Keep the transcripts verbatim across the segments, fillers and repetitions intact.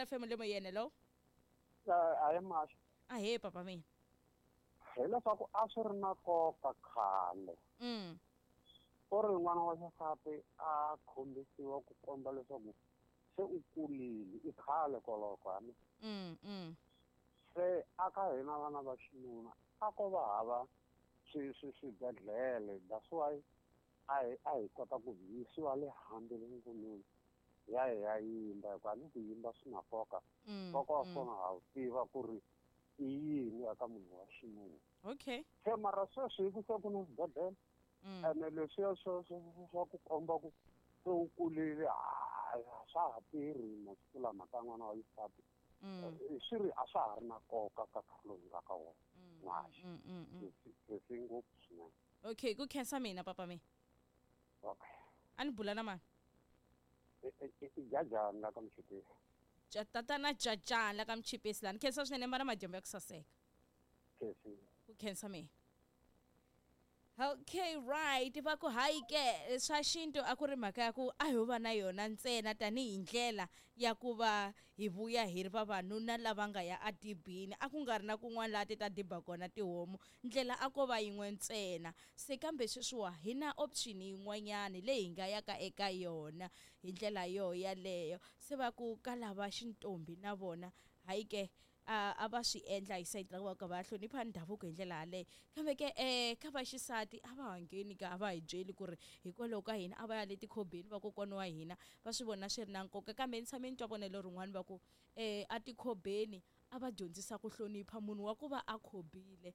C R F M le moyeni, hello. A hi maxa. Ahee, papa mina. Hileswaku a swi ri na nkoka khale mm ku ri n'wana wa xisati a khombisiwa ku komba leswaku se u kulile, i khale koloko hani. mm mm Se aka hina vana va xinuna a ko va hava swi swi swibedhlele, that's why a hi a hi kota ku yisiwa le handle le ngomeni ya hi ya yimba, hikuva ni ku yimba swi na nkoka. mm, Nkoka wa mm. kona ha wu tiva ku ri i yini eka munhu wa xinuna. Okay se mara sweswi hi ku se ku na swibedhlele, mm. ene leswiya swa swa swa ku komba ku se u kulile, hayi, a swa ha tirhi masiku lama ka n'wana wa xisati. Mm. Eh, swi ri a swa ha ri na nkoka ka nkarhi lowu hi nga ka wona. Mm, N'waxi. mm, mm, mm. Sesi ngopfu swinene. Okay, ku khensa mina, papa mina. Okay. A ni bula na mani? I- i i jajani la ka Muchipisi. Ja- tatana Jajani la ka Muchipisi lani, khensa swinene, ma na madyambu ya ku saseka. Kesi. Ku khensa mina. Okay, right, va ku hayi ke, swa xintu a ku ri mhaka ya ku a ho va na yona ntsena tanihi ndlela ya ku va hi vuya hi ri vavanuna lava nga ya adibini, a ku nga ri na kun'wana laha ti ta diba kona tihomu, ndlela a ko va yin'we ntsena. Se kambe sweswiwa hi na option yin'wanyani leyi hi nga yaka eka yona hi ndlela yo yaleyo. Se va ku ka lava xintombi na vona, hayi ke, a a va swi endla hi sayiti ra ku va ka va hlonipha ndhavuko hi ndlela yaleyo, kambe ke um ka va xisati a va ha ngheni ka, a va hi byeli ku ri hikwalaho ka hina a va ya le tikhobeni, vakokwana wa hina va swi vona swi ri na nkoka. Kambe ni tshame ni twa vonelo rin'wana, va ku um a tikhobeni a va dyondzisa ku hlonipha munhu wa ku va a khobile,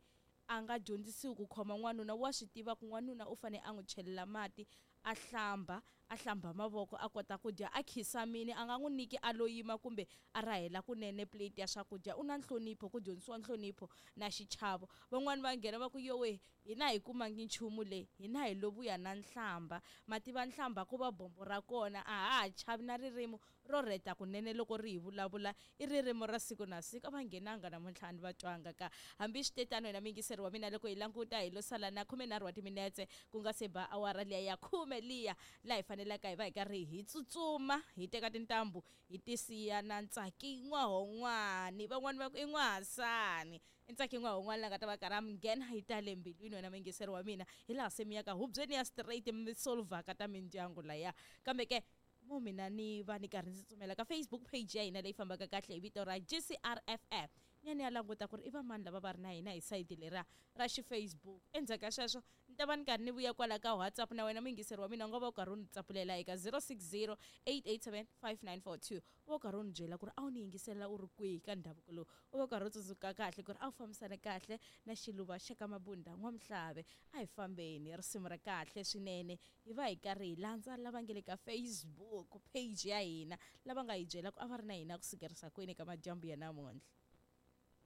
a nga dyondzisiwi ku khoma n'wanuna, wa swi tiva ku n'wanuna u fane a n'wi chelela mati, a hlamba a hlamba mavoko, a kota ku dya, a khisamini, a nga n'wi nyiki a lo yima kumbe a rahela kunene plate ya swakudya. U na nhlonipho, ku dyondzisiwa nhlonipho na xichavo. Van'wani va nghena va ku yowe, hina hi kumangi nchumu leyi, hina hi lo vuya na nhlamba, mativa nhlamba ku va bombo ra kona, a ha ha chavi na ririmi ro rheta kunene loko ri hi vulavula, i ririmi ra siku na siku. A va nghenanga namuntlha, ni va twanga ka. Hambi switetano, hina muyingiseri wa mina, loko hi languta hi lo sala na khumenharhu wa timinetse ku nga se ba awara liya ya khume liya laha hi fanelaka hi va hi karhi hi tsutsuma hi teka tintambu hi ti siya na Ntsaki N'wahon'wani. Van'wani va ku i N'wahasani, i Ntsaki N'wahon'wani la nga ta va karhi a mi nghena hi ta le mbilwini. Wena muyingiseri wa mina, hi laha se mi ya ka hubyeni ya straight mi solvhaka ta mindyangu laya. Kambe ke mo mina ni va ni karhi ndzi tsutsumela ka Facebook page ya hina leyi fambaka kahle hi vito ra G C R F M, ni ya ni ya languta ku ri i va mani lava va ri na hina hi sayiti leriya ra xifacebook. Endzhaku ka sweswo ni ta va ni karhi ni vuya kwala ka WhatsApp na wena muyingiseri wa mina, u nga va u karhi u ni tsapulela eka zero six zero eight eight seven five nine four two, u va u karhi u ni byela ku ri a wu ni yingiselela u ri kwihi ka ndhavuko lowu, u va u karhi u tsundzuka kahle ku ri a wu fambisana kahle na Xiluva xa ka Mabunda N'wamhlave. A hi fambeni, risimu ra kahle swinene, hi va hi karhi hi landza lava nge le ka Facebook page ya hina, lava nga hi byela ku a va ri na hina ku sukerisa kwini ka madyambu ya namuntlha.